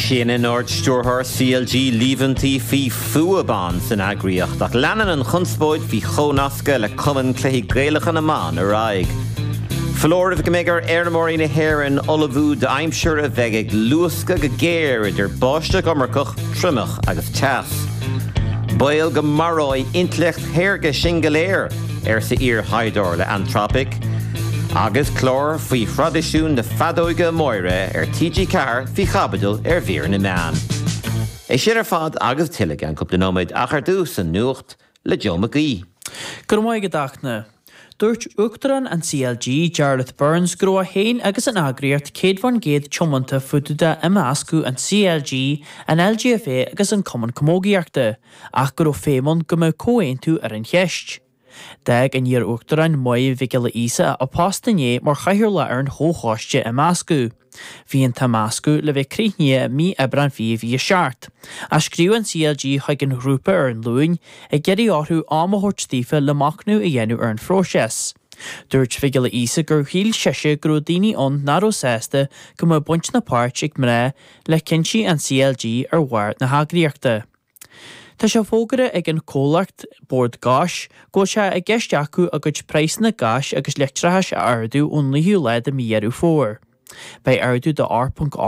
Séanann Ard-Stiúrthóir CLG líomhaintí faoi fuath ban san eagraíocht ach leanann an chonspóid faoi chomhnascadh le Cumann Cluichí Gaelacha na mBan ar aghaidh. Foláireamh go mbeidh ar fheirmeoirí na hÉireann ullmhú d'aimsir a bheidh ag luascadh go géar idir báisteach iomarcach, triomach agus teas. Baol go maróidh intleacht shaorga sinn go léir, arsa iar-thaighdeoir le Anthropic. Agus clár faoi thraidisiún na feadóige móire ar TG4 faoi chaibidil ar mhír na meán. É sin ar fad agus tuilleadh i gceann cúpla nóiméad ach ar dtús, an nuacht le Joe Mac Aoidh. Go raibh maith agat a Fhachtna. Dúirt Uachtarán an CLG, Jarlath Burns, go raibh é féin agus an eagraíocht 100% tiomanta fá dtaobh d'imeascadh an CLG, an LGFA agus an Cumann Camógaíochta, ach go raibh feidhm ann go mbeadh comhaontú ar an cheist. D'fhág an iar-uachtarán Máire Mhic Giolla Íosa a post inné mar chathaoirleach ar an chomhchoiste imeascadh. Bhí an t-imeascadh le bheith críochnaithe i mí Aibreán 2027, ach scríobh an CLG chuig an ghrúpa ar an Luain ag iarraidh orthu am a thabhairt daofa le machnamh a dhéanamh ar an phróiseas. Dúirt Mhic Giolla Íosa gur shíl sise go raibh daoine ann nach raibh sásta go mbeadh baint ná páirt ag mná le cinntí an CLG ar bharr na heagraíochta. Tá sé fógartha ag an chomhlacht Bord Gáis go bhfuil sé i gceist acu a gcuid praghsanna gáis agus leictreachais a ardú ón 9ú lá de mhí Dheireadh Fómhair. Beidh ardú de 8.8.